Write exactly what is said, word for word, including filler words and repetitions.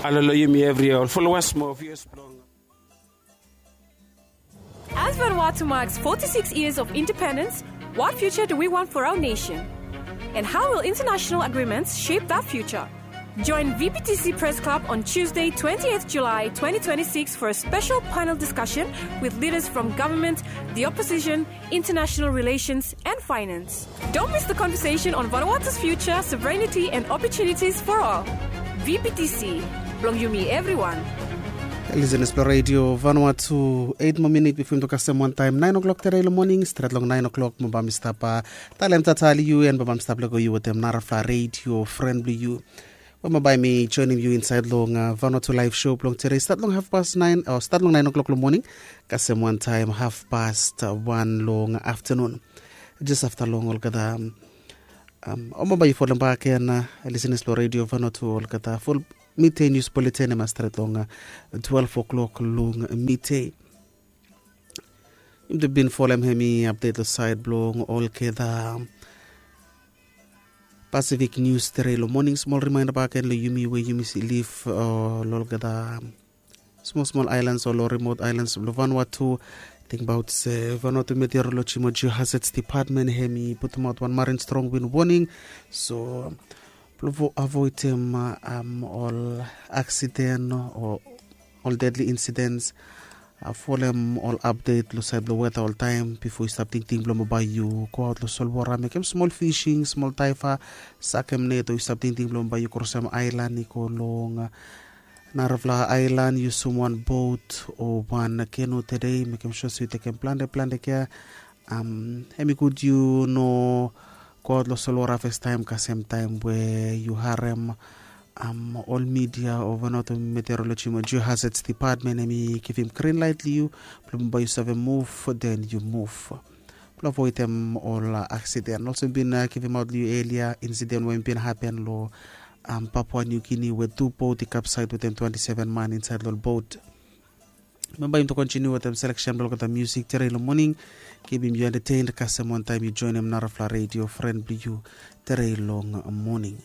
Alo long yumi evri ol followers mo viewers blong. As Vanuatu marks forty-six years of independence, what future do we want for our nation? And how will international agreements shape that future? Join V P T C Press Club on Tuesday, twentieth July twenty twenty-six, for a special panel discussion with leaders from government, the opposition, international relations, and finance. Don't miss the conversation on Vanuatu's future, sovereignty, and opportunities for all. V P T C, blong yumi evriwan. Listeners blong Radio Vanuatu, eight mo minit bifo yumi to kasem wantaem nine o'clock tere long moning, stret long nine o'clock mo bae mi stap talem tatali yu, en bae mi stap lego yu wetem narafala radio fren blong yu. We mo bae mi joinim yu insaed long Vanuatu live show blong tere, stat long half past nine o stat long nine o'clock long moning, kasem wantaem half past wan long aftenun. Jes afta long olgeta, o mo bae yu folem bak gen, listeners blong Radio Vanuatu, olgeta ful midday news bulletin, em a stret long twelve o'clock long midday. Yumi tu bin folem hemi update long saed blong olgeta Pacific news tere long moning. Smol remaenda bak gen long yumi we yumi si lif long olgeta smol smol aelan o long remote aelan blong Vanuatu. Tingbaot se Vanuatu Meteorology mo Geohazards Department hemi putumaot wan marin strong wind warning. So blong avoedem ol aksiden o ol deadly incidents, folem ol update long saed blong weta oltaem bifo yu stap tingting blong mo bae yu goaot long solwora mekem smol fishing, smol daiva, sakem net, o yu stap tingting blong mo bae yu krosem aelan i go long narafala aelan, yusum wan bot o wan kenu tede, mekem sua se yu tekem plante plante kea. Hemi gud yu no goaot long solwora fastaem kasem taem we yu harem ol media o Vanuatu Meteorology mo Geohazards Department hemi givim green light long yu blong bae yu save muv, den yu muv blong avoedem ol aksiden. Olsem bin givimaot long yu elia, insiden we bin hapen long Papua New Guinea we tu bot i kapsaed wetem twante seven man insaed long ol bot. Memba yumi tu kontiniu wetem seleksen blong olgeta musik tere long moning. Kipim yu entertained kasem wantaem yu joenem narafala radio fren blong yu tere long moning.